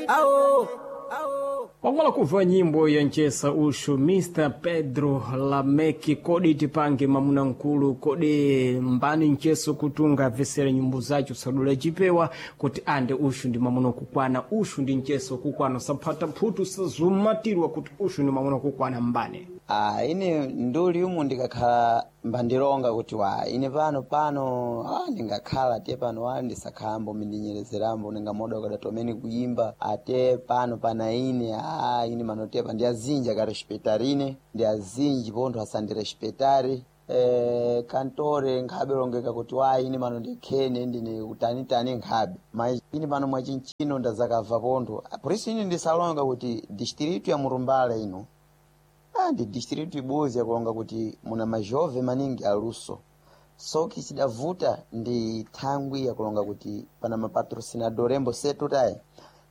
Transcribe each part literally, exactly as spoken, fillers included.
Ao Wangwala kuva nyimbo ya nchesa ushu Mister Pedro Lameki kodi tipange mamuna nkulu kodi mbani ncheso kutunga vesera nyimbo zacho sadula chipewa kuti ande ushu ndi mamuna kukwana, ushu ndi ncheso kukwana, saphata phutu sazumatirwa kuti ushu ndi mamuna kukwana mbani. Ah, ine nduli umu ndikakhala mbandilonga kuti wa ine pano pano ah, ndingakhala te pano wa ndisakhalambo mindinyerezerambo ndingamoda kadatomene kuyimba ate pano pana ine ah, ine manotepa ndi azinji akarespectarine ndi azinji pontho asandirespectare eh, kantore nkhabe longeka kuti wa ine pano ndikhene ndine utanitani nkhabe ma ine pano mwachinchino ndazakabva pontho poriso ine ndisalonga kuti distritu ya Murumbala ino Ah, ndi distritu ibodzi yakulonga kuti muna majove maningi aluso soki cidavuta ndi thangwi yakulonga kuti pana mapatrocinador embo setu tayi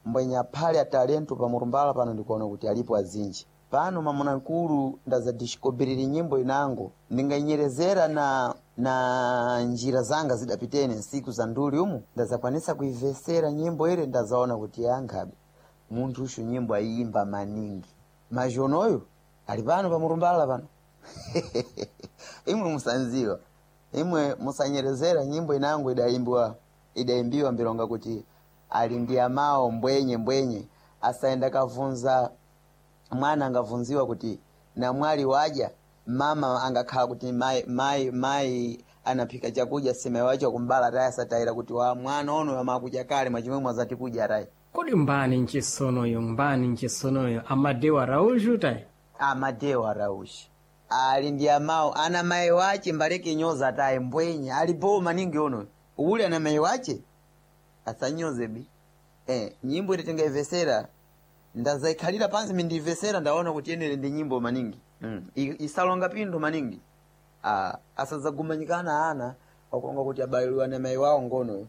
mbwenya aphale atalento pa Murumbala pano ndikuona kuti alipo azinji pano mamunakulu ndazadiscobriri nyimbo inango ndinganyerezera na na njira zanga zidapitene nsiku za nduli umu ndazakwanisa kuivesera nyimbo ile ndazaona kuti yankhabe munthu ushu nyimbo ayimba maningi majonoyo ali pano pa Murumbala pano imwe musanziwa imwe musanyerezera nyimbo inango idaimbwa idaimbiwa mbilonga kuti ali ndi amawo mbwenye mbwenye asaenda kavunza mwana angavunziwa kuti namwali waja mama angakhala kuti mai mai mai anaphika chakudya sima wacho kumbala tayi asatayira kuti wa mwana ono amakudya kale mwachimwe mwazati kudya tayi. Kodi mbani nchesonoyo mbani nchesonoyo Amadeu Araújo tayi? Amadeu Araújo ali ndi amawo ana mayi wache mbaleke nyoza tayi mbwenye alipo maningi ono uli ana mayi wache asanyoze bi eh, nyimbo ile tingaivesera ndazaikhalira pansi mindivesera ndaona kuti yenere ndi nyimbo maningi mm. I- isalonga pindu maningi ah, asazagumanyikana ana wakulonga kuti abayiliwa na mayi wawo ngono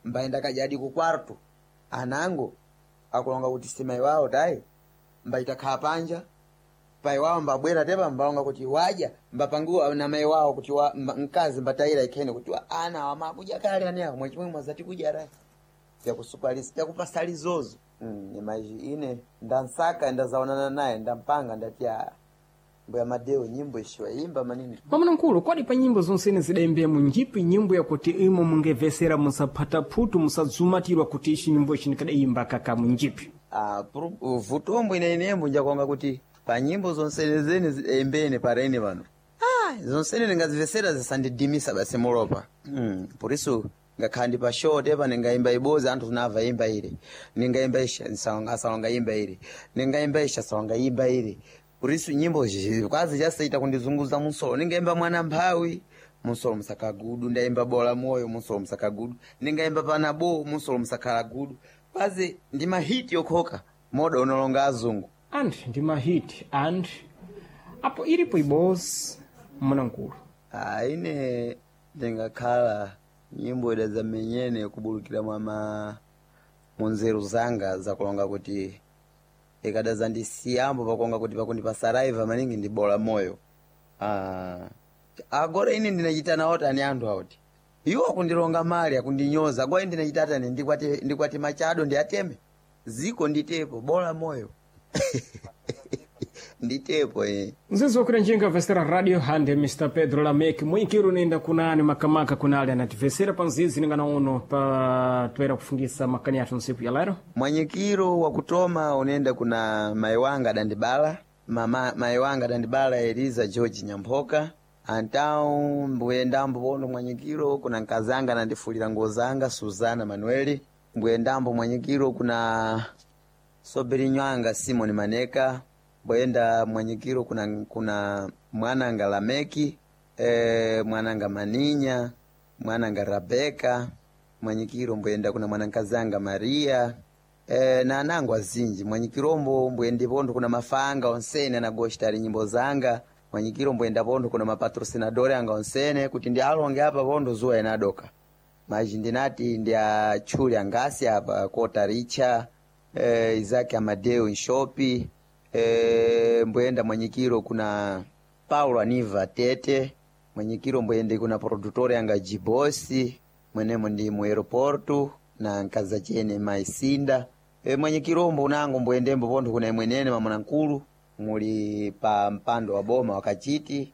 mbayenda kajadi ku kwarto anango akulonga kuti si mayi wawo tayi mbayitakhala panja pai wawo mbabwera tepa mbalonga kuti waja mbapangiwa na mayi wawo kuti wa, mba, mkazi mbatayira ikhene kuti wa, ana wamakudya kale ane awo mwachimwe mwazati kudya rayi vyakusupalisa vyakupasali zozo mm, imaji ine ndansaka ndazaonana naye ndampanga ndati "Ah, mbuya Madeo nyimbo ishiwaimba maningi." Mamuna nkulu kodi pa nyimbo zonsene zidaimbemo njipi nyimbo yakuti imo mungevesera musaphata phutu musadzumatirwa kuti ichi nyimbo ichi ndikadaimba kakamu njipi? Ah, pru- vutombo ine inembo njakuonga kuti pa nyimbo zonsenezene zidaimbene parene pano ah, zonsene ndingazivesera zisandidimisa basi mulopa mm, poriso ngakhala ndi pa show tepa ndingayimba ibozi anthu tunamva imba ile ndingayimba isha nsalonga asalonga imba ile ndingayimba isha asalonga imba ile poriso nyimbo zi- kwazi chasaita kundizunguza munsolo ndingayimba mwana mphawi munsolo musakagudu ndayimba bola moyo munsolo musakagudu ndingayimba panabo munsolo musakhala gudu kwazi ndi mahiti yokhoka moda unolonga azungu And ndi mahiti and apo ilipo ibosi mamuna nkulu. Ah, ine ndingakhala nyimbo ida zamenyene kubulukira mwama munzeru zanga zakulonga kuti ikada zandisiyambo pakuonga kuti pakundipasaraiva maningi ndi bola moyo ah, agora ine ndinachita nawo tani anthu auti iwo akundilonga mali akundinyoza agora ine ndinachita tani ndikwati ndikwati machado ndiateme ziko nditepo bola moyo nditepo eh. Mzizi wakuti njinga vesera radio hande Mister Pedro Lameki mwinkiru nenda kunani makamaka kunali anativesera pa mzizi ningana uno pa toera kufungisa makani athu nsiku ya lero. Mwanyikiro wa kutoma unaenda kuna mai wanga adandibala mama mai wanga adandibala Eliza George Nyamphoka antau mbuyendambo pono mwanyikiro kuna nkazanga anandifulira nguo zanga Suzana Manueli mbuyendambo mwanyikiro kuna soberinywanga Simon Maneka mbuyenda mwanyikiro kuna kuna mwananga Lameki e, mwananga Maninya mwananga Rabeka mwanyikiro mbuyenda kuna mwanankazanga Maria e, na anango azinji mwanyikirombo mbuyende pontho kuna mafanga onsene anagoshitali nyimbo zanga mwanyikiro mbuyenda pontho kuna mapatrocinadore anga onsene kuti ndi alonge apa pontho zuwa inadoka maji ndinati ndi atchule angasi apa kota richa eh, Isaac Amadeu Nshopi eh, mbuyenda mwanyikiro kuna Paulo Aniva Tete mwanyikiro mbuyende kuna produtore anga Jibosi mwenemo ndi mu aeroporto na nkaza chene maisinda E, mwenye kilombo unango mbwendembo pontho kuna imwenene mamuna nkulu muli pa mpando wa boma wakachiti.